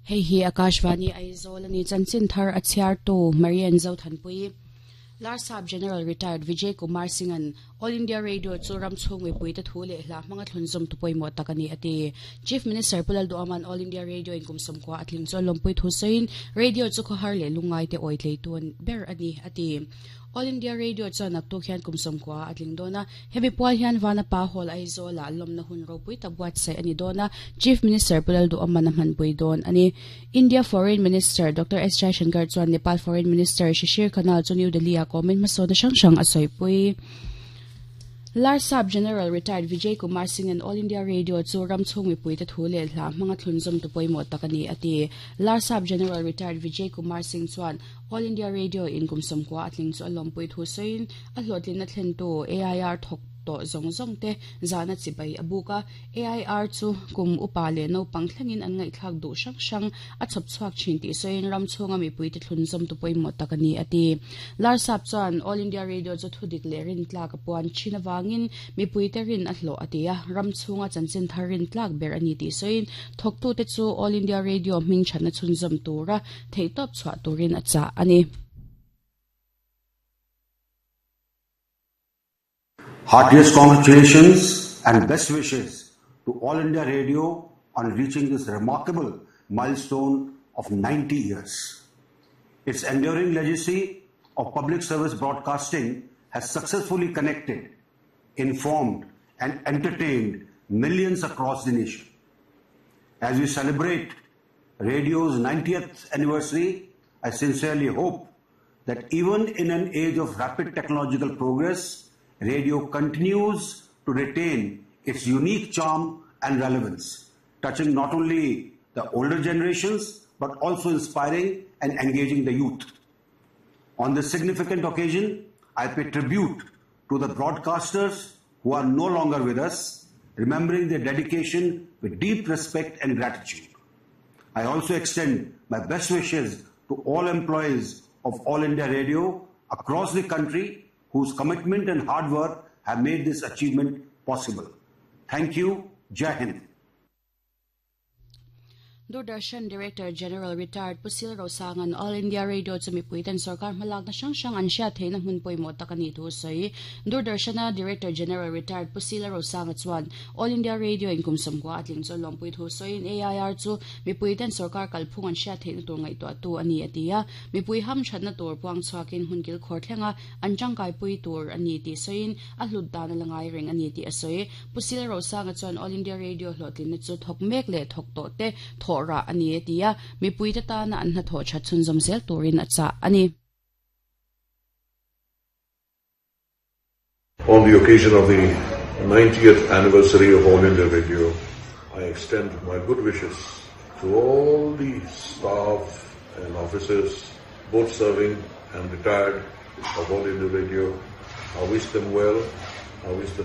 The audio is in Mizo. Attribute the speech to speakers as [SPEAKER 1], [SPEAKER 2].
[SPEAKER 1] Hei hi Akashvani Aizawl a ni. Chanchin thar a chhiartu Marian Zothanpui. Larsap General Retired Vijay Kumar Singh-a'n All India Radio chu ram chhung mipuite thu leh hla hmanga thlunzawm tu pawimawh tak a ni a ti. Chief Minister Pu Lalduhama'n All India Radio in kum sawmkua a tling chu a lawmpui thu sawiin Radio chu khawhar leh lungngaite awi tleitu ber a ni a ti. All India Radio chuan naktuk hian kum sawmkua a tling dawn a, hemi pual hian Vanapa Hall Aizawlah lawmna hun ropui tak buatsaih a ni dawn a, Chief Minister Pu Lalduhama'n a hmanpui dawn a ni. India Foreign Minister Doctor S Jaishankar chuan Nepal Foreign Minister Shishir Khanal chu New Delhi-ah kawmin hmasawnna hrang hrang a sawipui. Larsap General Retired Vijay Kumar Singh-a'n All India Radio chu ram chhung mipuite thu leh hla hmanga thlunzawmtu pawimawh tak a ni a ti. Larsap General Retired Vijay Kumar Singh chuan All India Radio in kum 90 a tling chu a lawmpui thu sawiin a hlawhtlinna thlentu AIR thawk tawh zawng zawng te zahna chibai a buk a. AIR chu kum upa leh naupang thlengin an ngaihthlak duh hrang hrang a chhawp chhuak thin tih sawiin ram chhunga mipuite thlunzawmtu pawimawh tak a ni a ti. Larsap chuan All India Radio chu thudik leh rintlak a puan thin avangin mipuite rin a hlawh a ti a, ram chhunga chanchin thar rintlak ber a ni tih sawiin thawktute chu All India Radio hming thatna chhunzawm tura theihtawp chhuah turin a chah a ni.
[SPEAKER 2] Heartiest congratulations and best wishes to All India Radio on reaching this remarkable milestone of 90 years. Its enduring legacy of public service broadcasting has successfully connected, informed, and entertained millions across the nation. As we celebrate radio's 90th anniversary, I sincerely hope that even in an age of rapid technological progress, radio continues to retain its unique charm and relevance, touching not only the older generations but also inspiring and engaging the youth. On this significant occasion, I pay tribute to the broadcasters who are no longer with us, remembering their dedication with deep respect and gratitude. I also extend my best wishes to all employees of All India Radio across the country whose commitment and hard work have made this achievement possible. Thank you. Jai Hind.
[SPEAKER 1] Doordarshan Director General Retired Pu Sil Rosanga'n All India Radio chu mipuiten sorkar hmalakna hrang hrang an hriat theihna hmun pawimawh tak a nih thu a sawi. Doordarshan-a Director General Retired Pu Sila Rosanga chuan All India Radio in kum 90 a tling chu lawmpui thu sawiin AIR chu mipuiten sorkar kalphung an hriat theihna tur ngaihtuahtu a ni a ti a. Mipui hamthatna tur puang chhuakin hmun kilkhawr thlenga an tangkaipui tur a ni tih sawiin a hlut dan a la ngai reng a ni tih a sawi. Pu Sil Rosanga chuan All India Radio hlawhtlinna chu thawk mek leh thawk tawh te thawh rah a ni a ti a, mipuite tana an hnathawh that chhunzawm zel turin a chah a ni.
[SPEAKER 3] On the occasion of the 90th anniversary of All India Radio, I extend my good wishes to all the staff and officers, both serving and retired, of All India Radio. I wish them well. I wish them